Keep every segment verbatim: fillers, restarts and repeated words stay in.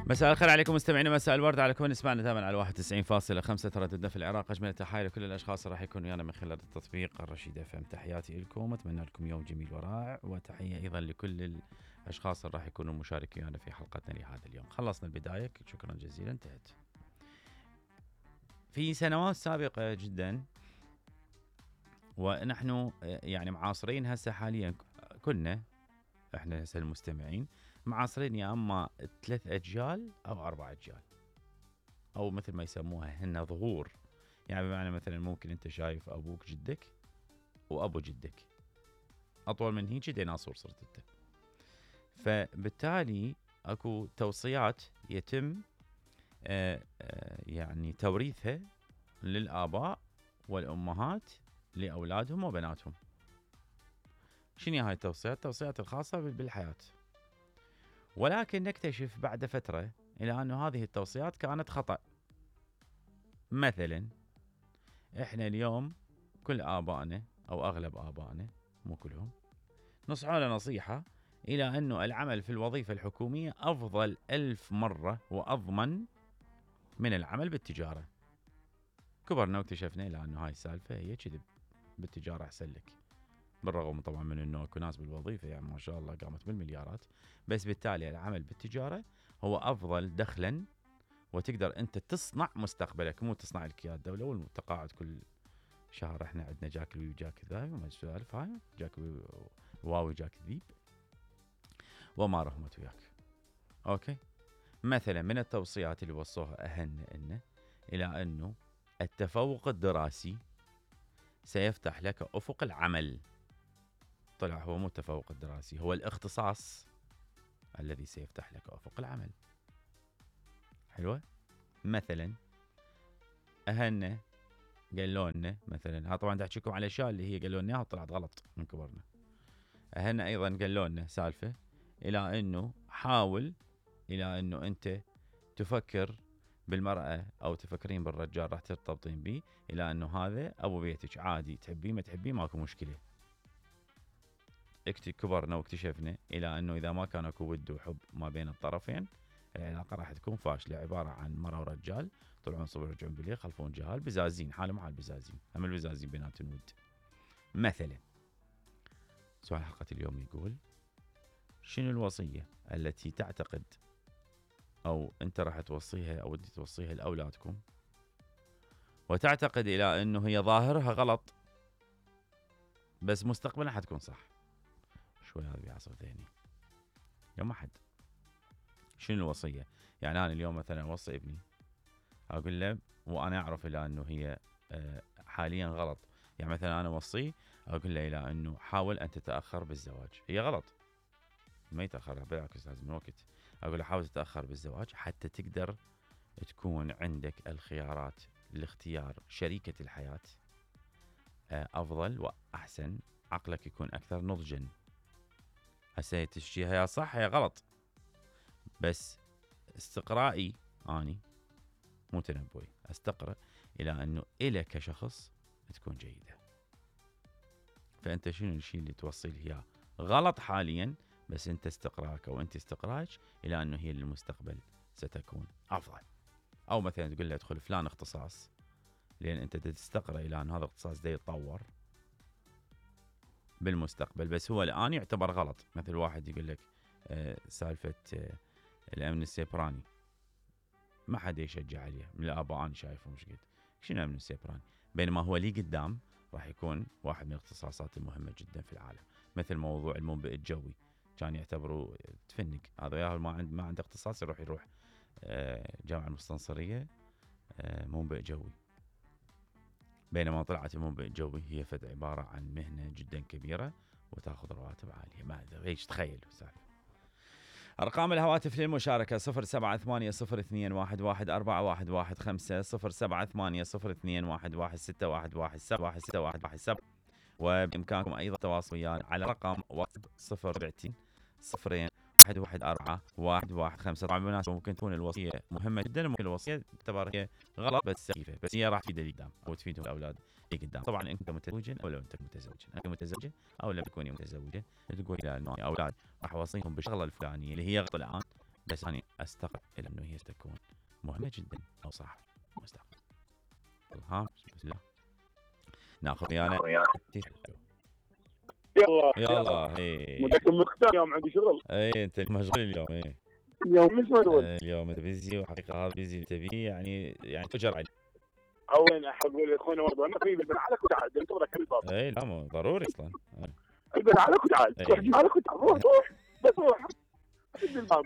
مساء الخير عليكم مستمعينا، مساء الورد على كل نسمعنا دائما على واحد وتسعين فاصلة خمسة ترددنا في العراق. اجمل التحايا لكل الاشخاص اللي راح يكونوا ويانا من خلال التطبيق الرشيد اف ام. تحياتي لكم، اتمنى لكم يوم جميل ورائع، وتحيه ايضا لكل الاشخاص اللي راح يكونوا مشاركين ويانا في حلقتنا لهذا اليوم. خلصنا البدايه، شكرا جزيلا. انتهت. في سنوات سابقه جدا ونحن يعني معاصرين هسه حاليا، كنا احنا هسه المستمعين معاصرين يا اما ثلاث اجيال او اربع اجيال، او مثل ما يسموها هن ظهور. يعني بمعنى مثلا ممكن انت شايف ابوك جدك وابو جدك، اطول من هيك ديناصور صرت انت. فبالتالي اكو توصيات يتم آآ آآ يعني توريثها للاباء والامهات لاولادهم وبناتهم. شنو هاي التوصيات؟ التوصيات الخاصه بالحياه. ولكن نكتشف بعد فترة إلى أن هذه التوصيات كانت خطأ. مثلا إحنا اليوم كل آبائنا أو أغلب آبائنا، مو كلهم، نصحونا نصيحة إلى أنه العمل في الوظيفة الحكومية أفضل ألف مرة وأضمن من العمل بالتجارة. كبرنا واكتشفنا إلى أنه هاي السالفة هي كذب، بالتجارة أحسن لك. بالرغم طبعا من انه اكو ناس بالوظيفه يعني ما شاء الله قامت بالمليارات، بس بالتالي العمل بالتجاره هو افضل دخلا، وتقدر انت تصنع مستقبلك، مو تصنع لك اياه الدوله والتقاعد كل شهر. احنا عندنا جاك الوي وجاك الذاي وما السوالف هاي، جاك واوي جاك ذيب وما رحمت وياك. اوكي، مثلا من التوصيات اللي وصوها اهلنا انه الى انه التفوق الدراسي سيفتح لك افق العمل. طلع هو مو التفوق الدراسي، هو الاختصاص الذي سيفتح لك افق العمل. حلوه. مثلا اهلنا قالوا لنا مثلا، ها طبعا دا احكيكم على الاشياء اللي هي قالوا لنا اياها وطلعت غلط من كبرنا. اهلنا ايضا قالوا لنا سالفه الى انه حاول الى انه انت تفكر بالمراه او تفكرين بالرجال راح ترتبطين به، الى انه هذا ابو بيتك عادي، تحبيه ما تحبيه ماكو مشكله. كبرنا واكتشفنا الى انه اذا ما كان اكو ود وحب ما بين الطرفين العلاقه راح تكون فاشله، عباره عن مرة ورجال طلعون صبح يرجعون بالليل خلفون جهال بزازين، حالهم حال بزازين، هم البزازين بينات الود. مثلا سؤال حلقه اليوم يقول: شنو الوصيه التي تعتقد او انت راح توصيها او ودي توصيها لاولادكم وتعتقد الى انه هي ظاهرها غلط بس مستقبلا حتكون صح؟ شوي هذا بيعصب ذهني يا ما حد. شنو الوصية؟ يعني أنا اليوم مثلا أوصي ابني أقول له وأنا أعرف إلى أنه هي حاليا غلط. يعني مثلا أنا أوصيه أقول له إلى أنه حاول أن تتأخر بالزواج. هي غلط، ما يتأخر، بالعكس لازم وقت. أقول له حاول تتأخر بالزواج حتى تقدر تكون عندك الخيارات لاختيار شريكة الحياة أفضل وأحسن، عقلك يكون أكثر نضجا. هسه تشجيها يا صح يا غلط، بس استقرائي اني مو تنبؤي، استقرأ الى انه الك كشخص تكون جيده. فانت شنو الشيء اللي توصي له اياه غلط حاليا، بس انت استقراك او انت استقراك الى انه هي للمستقبل ستكون افضل. او مثلا تقول له ادخل فلان اختصاص لان انت تستقرأ الى ان هذا الاختصاص ده يتطور بالمستقبل، بس هو الان يعتبر غلط. مثل واحد يقول لك آه سالفه آه الامن السيبراني، ما حد يشجع عليه من الاباء، انا شايفه مش قد شنو الامن السيبراني، بينما هو لي قدام راح يكون واحد من الاختصاصات المهمه جدا في العالم. مثل موضوع المنبئ الجوي، كان يعتبروا تفنق هذا يا ما عنده ما عنده اختصاص يروح يروح آه جامعه المستنصريه آه منبئ جوي، بينما طلعت المنبئ الجوي هي فد عباره عن مهنه جدا كبيره وتاخذ رواتب عاليه. ما ادري ايش تخيل سالفه. أرقام الهواتف للمشاركة: صفر سبعة ثمانية صفر اثنين واحد واحد أربعة واحد واحد خمسة، صفر سبعة ثمانية صفر اثنين واحد واحد ستة واحد واحد سبعة واحد ستة واحد واحد سبعة. وبإمكانكم أيضا التواصل ويانا على رقم واتساب صفر سبعتين صفرين واحد واحد أربعة واحد واحد خمسة. طبعا بالمناسبة ممكن تكون الوصية مهمة جدا، ممكن الوصية تعتبر هي غلط بس سخيفة، بس هي راح تفيد اللي قدام أو تفيدهم الأولاد اللي قدام. طبعا أنت متزوجة أو لو أنت متزوجة، أنت متزوجة أو لم تكوني متزوجة، تقول إلى أولاد راح أوصيهم بالشغلة الفلانية اللي هي غلط الآن، بس أنا أستغرب إلى أنه هي ستكون مهمة جدا أو صح مستقبل. ها بسم الله ناخذ ويانا. يلا يلا هي متأكد مختار اليوم عندي شغل. اي انت مشغول اليوم. اي اليوم مش مشغول. آه، اليوم انت بيزي، وحقيقه هذا بيزي تبي يعني يعني تجر عليه. اول اقول لاخونا برضه انا في البن عليك وتعال انتظرك الباب. اي لا مو ضروري اصلا. البن عليك وتعال أي. روح جيب عليك وتعال روح روح بس روح سد الباب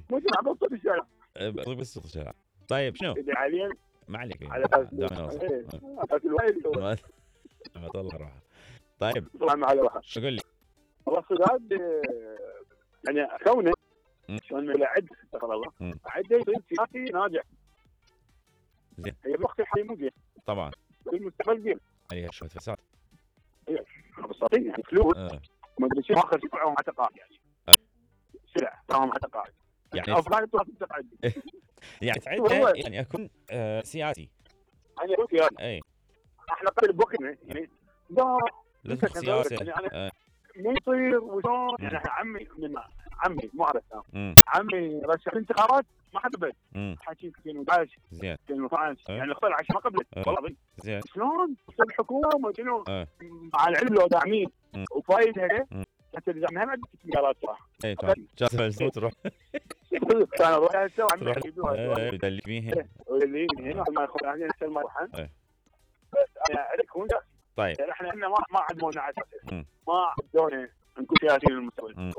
مو تلعب بصوت الشارع. بس صوت الشارع. طيب شنو؟ اللي حاليا ما عليك على اساس دائما نوصل. إيه، على اساس الوالد ما ما طلع روحه. طيب طلع مع الواحد. شو قول لي؟ والله الصداد يعني كونه مم. شلون ما يعد استغفر الله مم. عده يصير سياسي ناجح. زين. هي بالوقت الحالي مو زين، طبعا في المستقبل زين. عليها شويه فساد. بساطين يعني فلوس آه. ما ادري شو اخر سلعه مع تقاعد يعني. آه. سلع تمام مع تقاعد. يعني افضل تروح تقاعد. يعني تعدها يعني اكون آه سياسي. يعني هو سياسي. اي احنا قبل بوقتنا يعني لا لا أنت سياسه. يعني أنا آه. ما يصير وشلون مم. يعني إحنا عمي من عمي مو عارف مم. عمي رشح انتخابات ما حد بد مم. حكي ألفين وأحد عشر زين. ألفين واثناشر أه. يعني اختار عشان ما قبل أه. والله بي. زين. شلون تصير الحكومه شنو اه مع العلم لو داعمين مم. وفايدها مم. حتى اذا ما عندك مقالات صح. اي تمام جات ملزوم تروح كان اروح هسه تروح وعمي يجيبوها اي بدل بيها. واللي هنا ما ياخذ يعني نفس المرحله. أه. بس انا عليك هون طيب احنا احنا ما ما عدمونا على اساس مم. ما عدونا نكون سياسيين المستقبل. مم.